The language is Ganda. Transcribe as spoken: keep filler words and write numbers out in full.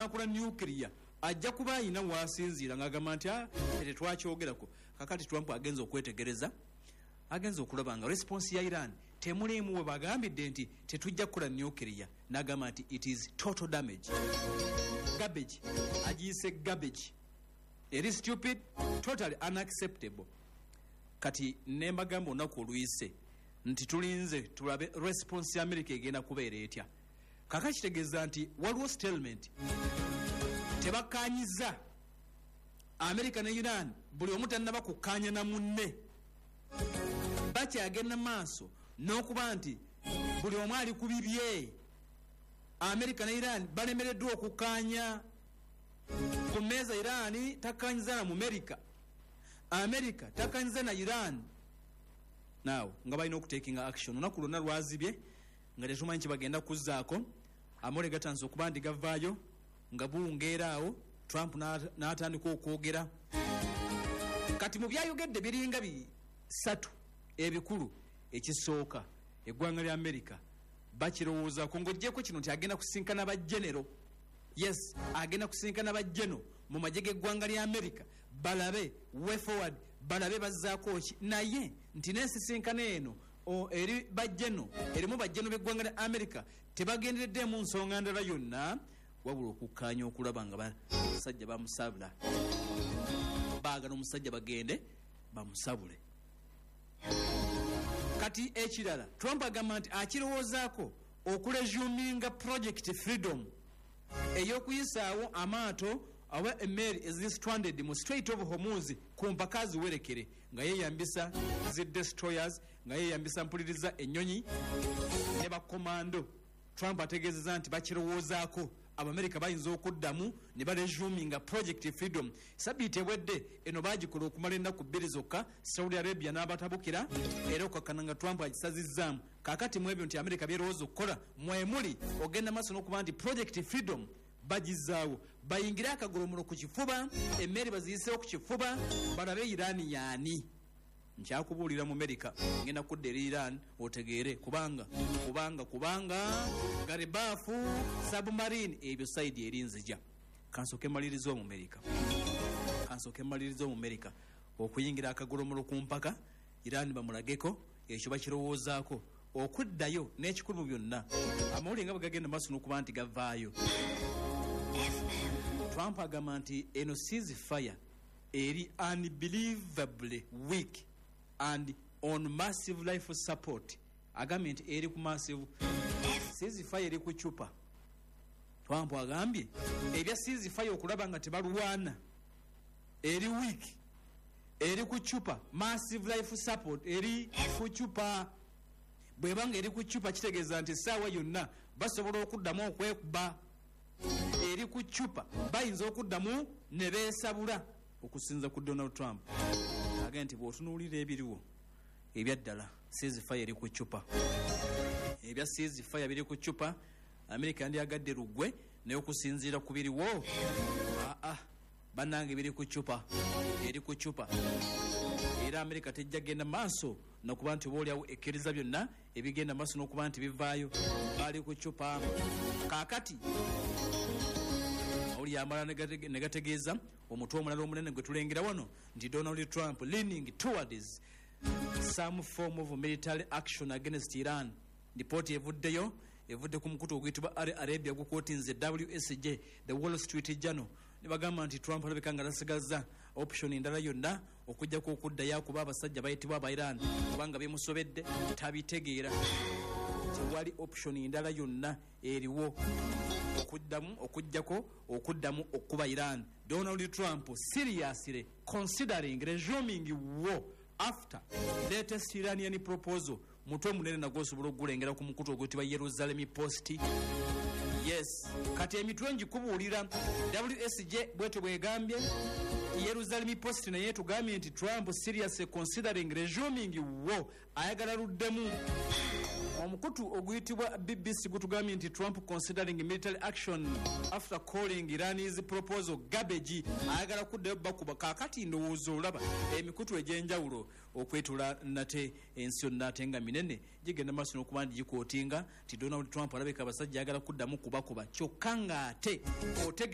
banakola nuclear ajja kuba ayina wasinziira ng'agamba nti tetwakyogerako. Kakati Trump agenza okwetegereza, agenza okulaba nga response ya Iran temulimu we bagambidde nti tetujja kukola nuclear, n'agamba nti it is total damage, garbage, agiyise garbage, eri stupid, totally unacceptable. Kati nembagamba olunaku oluyise nti tulinze tulabe response ya America egenda kubeera etya. Kaka kitegeeza nti waliwo statement, tebakkanyiza America ne Iran, buli omu tannaba kukkaanya na munne, bakyagenda maaso n'okuba nti buli omu ali ku bibye. America ne Iran balemereddwa okukkaanya ku mmeeza. Iran takkanyiza na mu America, America takkanyiza na Iran. Naawe nga balina okutakinga action. Olunaku lwonna lwazibye nga tetumanyi kye bagenda kuzzaako. Amawulire gatandise okuba nti gavaayo nga buwungeera awo Trump n'atandika okwogera. Kati mu byayogedde biringa bisatu ebikulu. Ekisooka, eggwanga lya America bakirowoozaako ng'oggyeko kino nti agenda kusinkana ba general. Yes, agenda kusinkana ba general mu magye g'eggwanga lya America, balabe way forward, balabe bazzaako ki. Naye nti n'ensisinkano eno eri ba general, erimu ba general b'eggwanga lya America, tebagendereddemu nsonga ndala yonna wabula okukkaanya okulaba nga basajja bamusabula, baagala omusajja bagende bamusabule. Kati ekirala, Trump agamba nti akirowoozaako okuresuminga Project Freedom ey'okuyisaawo amaato oba emmeeri eziri stranded mu Strait of Hormuz ku mpaka ziwerekere, nga yeeyambisa zi destroyers, nga yeeyambisa, mpuliriza, ennyonyi ne bakomando. Trump ategeezeza nti bakirowoozaako, Abamerika bayinza okuddamu ne baresuminga Project Freedom. Sabiiti ewedde eno bagikola okumala ennaku bbiri zokka, Saudi Arabia n'abatabukira era okakkana nga Trump agisazizzaamu. Kaakati mu ebyo nti Amerika byerowooza okukola mwemuli ogenda maaso n'okuba nti Project Freedom bagizaawo, bayingire akagolomulo ku kifuba, emmeri baziyisewo ku kifuba, balabe Irani yaani. Nkyakubuulira mu Amerika, ngenda kudda eri Iran otegeere, kubanga kubanga kubanga Ghalibaf, submarine, ebyo side eri nzija. Kansooke mmaliriza Omumerika, kansooke mmaliriza Omumerika okuyingira akagolomulo ku mpaka, Iran bamulageko ekyo bakirowoozaako okuddayo. N'ekikulu mu byonna, amawulire nga bwe gagenda maaso n'okuba nti gavaayo, Trump agamba nti eno ceasefire eri unbelievably weak and on massive life support. Agambye nti eri ku massive ceasefire, eri ku cupa. Trump agambye ebya ceasefire okulaba nga tebalwana eri weak, eri ku cupa, massive life support eri ku cupa. Bwebanga eri ku cupa, kitegeeza nti essaawa yonna basobola okuddamu okwekuba. Eri ku cupa, bayinza okuddamu ne beesabula. Okusinza ku Donald Trump, agambye nti bw'otunuulira ebiriwo ebyaddala, ceasefire eri ku cupa, ebya ceasefire biri ku cupa. Amerika yandyagadde luggwe, naye okusinziira ku biriwo, aa, bannange, biri ku cupa, eri ku cupa. Era Amerika tejja genda maaso nokuba nti oba oliawo ekkiriza byonna ebigenda maaso n'okuba nti bivaayo, bali ku cupa. Kaakati oli amala ne gategeeza omutwe omulala omunene gwe tulengera wano nti Donald Trump leaning towards some form of military action against Iran. Lipooti evuddeyo, evudde ku mukutu oguyitibwa Al Arabia, gukwotinze W S J, The Wall Street Journal, ne bagamba nti Trump alabika nga tasigaza option endala yonna okugjako okuddayo akuba abasajja bayitibwa aba Iran, kubanga bimusobedde, tabitegeera. Tewali option endala yonna eriwo okuddamu okugjako okuddamu okuba Iran. Donald Trump seriously considering resuming war after latest Iranian proposal. Mutwe munene nagwo osobola okugulengera ku mukutu oguyitibwa Jerusalem Post. Yes, kati emitwe ngikubuulira, W S J bwetyo bwegambye, Jerusalem Post naye tugambye nti Trump seriously considering resuming war, ayagala luddemu. Omukutu oguyitibwa B B C gutugambye nti Trump considering military action after calling Iran's proposal garbage, ayagala kuddayo bakuba. Kaakati ndowooza olaba emikutu egy'enjawulo okwetula nate ensi yonna, ate nga minene, gigenda maaso n'okuba nti gikwotinga nti Donald Trump alabika abasajja ayagala kuddamu kubakuba, kyokka ng'ate otegedde.